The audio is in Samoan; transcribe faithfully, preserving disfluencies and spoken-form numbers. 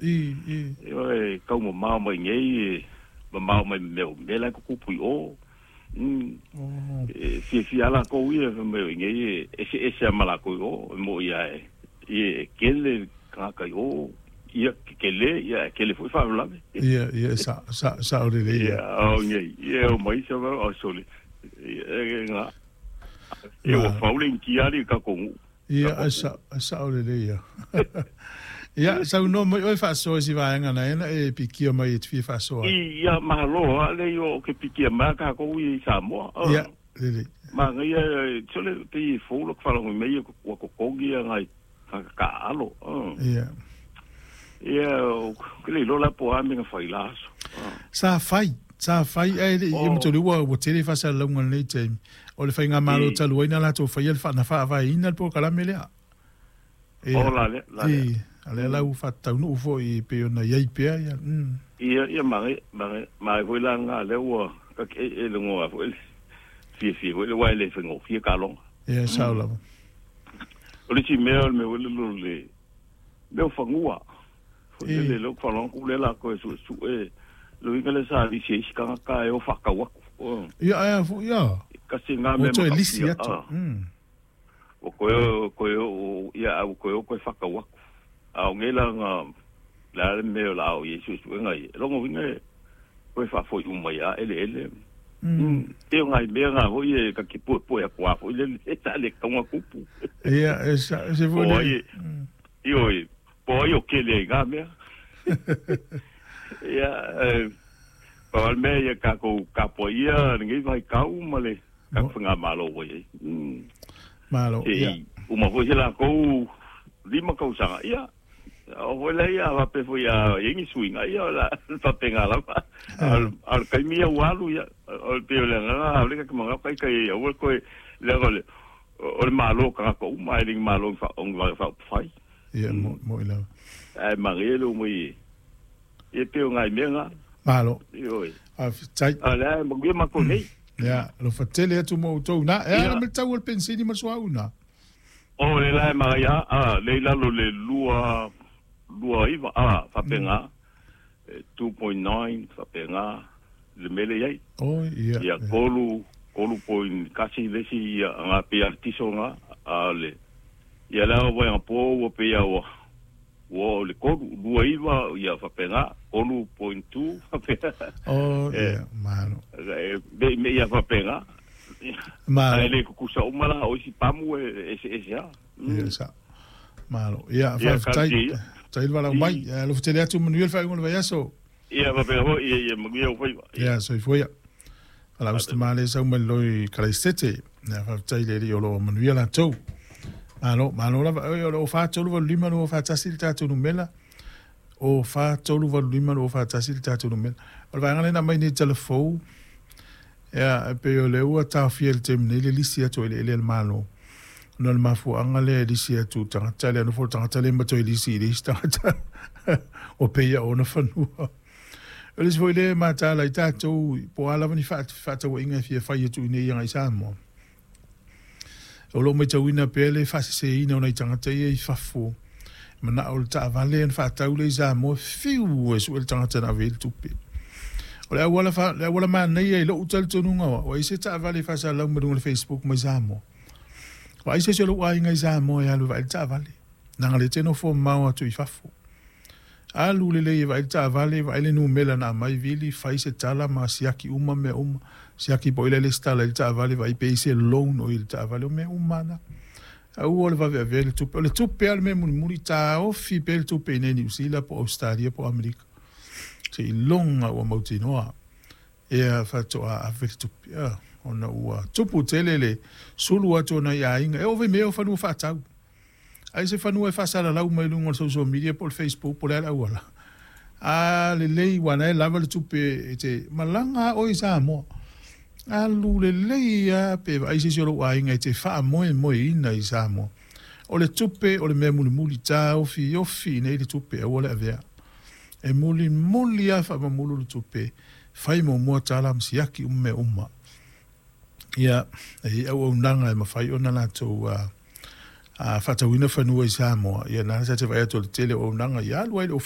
I i E kau mamao mai nei e mamao mai mea o mea la e tutupu i o. Mm. Oh. E fiafia lava lakou ia fai mai o i inei e eseese lava ma lakou i o, e mo'i lava e ia e kele tagata i o, ia kekelē ia ae kele foi faalavelave. Ia ia sa sa sa'o lelei Ia ia. o inei ia e o mai isi o sole ia e ga ia ua Ma fau le inikia alii i le tatou nu'u Ia tatou e nu'u. sa e sa'o lelei ia. Ia saunoa mai oe faasoa i si vaega na e na e pikia mai e te fia faasoa ai. Ia malo lava lea o ke pikia mai a kākou ia i Samoa. Ia lelei. Manaia sole pei e fou loko faalogo mai ua totogi ia nai taaalo. Ia. Ia ke le iloa la po o a mea na fai i la aso. Sa fai, sa fai ae le i O mataulia ua ua tele faasalalauga i lenei taimi. O le faigamalo i talu ai na latou faia le faa na faavaeina le polokalame lea. O Ia la lea, la lea. I a o lea la ua faataunuu foi pei ona i ai pea ia. Mm. Ia ia manaia manaia manaia foi la lena lea ua e lagoa foi le fiafia foi le aua e le faigofie taaloga. Ia e sao lava. O le isi mea o le mea foi lele o le mea o fanua foi lele I lea ou te faalogo atu lea o le a toe suesue le uiga lea sa lisi ai isi tagata e o faatau atu. Ia ae a foi ia. Tasi lena Ua mea toe lisi matautia atu. Mm. ua toe toe oo ia ae ua toe o toe faatau atu. A o nei la na le a le mea o le a oo i ai suesuega ia. O lona uiga e toe faafoi uma ai lava eleele. Mm. Pei o nai mea na foi e ta te puepue atu lava foi lele sa le tatau ona tupu. Ia e sa e se Po foi o le. ai e ioe, po o ai o kele ai i na mea. Ia e pau lava le mea ia tatou tapuaia lenei vaitau ma le tatou Mo faigamalo ua i ai. Malo Se ia. i uma foi se latou lima tausaga, ia oo foi lea ia faapea foi a i ai ni suiga, ia o le a faapena lava. A o le taimi ia ua alu, ia o le pei o le agaga ʻaʻole ta te manao taita i aua le toe leaga o le o le Malo o tagata uma, ae le ni Malo o ni vaega faaupufai. Ia mo mo'i lava. Ae manaia le omai ia pei o nai mea na. Malo. Ioe. Faafetai. A o lea e manuia matou nei. Ia, alofa tele atu ma outou na. E ala Ia. ma le tau o le penisini ma le suauu na. O le la e manaia a lea i lalo le lua lua iva a faapena two point nine faapena le mea lea i ai. Oi ia. Ia tolu tolu point tasi le isi ia aga pei a le tiso lena a o le ia le ava anapo ua pei a ua ua oo i le tolu lua iva ia faapena tolu point two faapena. O E ia malo. e me me ia faapena. Malo. Ae le tutusa uma la o isi pamu e eseese lava. Ia sa. Malo. Ia Ia faafetai. talosia ia. Tai le valaau mai. Ia alofa tele atu manuia le faaiuga o le vaiaso. Ia faapena foi ia ia manuia ou faiva. Ia. Ia soifua ia. Valaau se tama lea sau mai le loi Kalaisete. Ia faafetai i le Alii o lo o manuia latou. Malo, malo lava. Oi, o le o fa tolu valu lima lua fa tasi le tatou numela. O fa tolu valu lima lua fa tasi le tatou numela. O le vaega lena mai nei telefou. Ia, e pei o le ua taofia i le taimi nei le lisi atu o eleele a le Malo. Ona o le mafuaaga lea e lisi atu i tagata lea, nofo le tagata lea ma toe lisi i le isi tagata ua pei a ona fanua. O le isi foi lea e mataala ai tatou po o a lava ni faatauaiga e fia fai atu i inei agai Samoa. O lo o matauina pea le faaseseina o nai tagata ia i fafo. Manao le taavale ona faatau lea i Samoa, fiu e sue le tagata na ave ai le tupe. O le auala fa, le auala manaia i lou talitonuga o au, ai se taavale e faasalalau mai luga o le Facebook mai Samoa. Vaai se isi o lou aiga i Samoa e alu e vaai le taavale. Leaga lea e te nofo mamao atu i fafo. Alu lelei e vaai le taavale, vaai le numera na aumai, vili, fai se tala ma siaki uma mea uma. Siaki po o i le lesitala i le taavale, vaai pe i ai se loan o i le taavale, o mea uma na. Aua le vave avea le tupe. O le tupe lava le mea mulimuli, taofi pea le tupe i inei Niu Sila po o Ausetalia po o Amerika. Seiloga ua mautinoa ea faatoa ave le tupe. Ah, ona ua tupu tele le sulu atu o nai aiga. E oo foi i mea o fanua faatau. Ai se fanua e faasalalau mai luga o le social media po o le Facebook po o le a le auala. A lelei ua na e lava le tupe e te malaga a oe i Samoa. Alu lelei lava pe vaai se isi o lou aiga e te faamoemoeina i Samoa. O le tupe o le mea mulimuli, taofiofi i nei le tupe aua le avea. E mulimuli lava faamamulu le tupe, fai muamua tala ma siaki uma mea uma. Ia, e i ai auaunaga e mafai ona latou faatauina fanua i Samoa. Ia, na sa te vaai atu o le tele o auaunaga ia alu ai i le ofisa.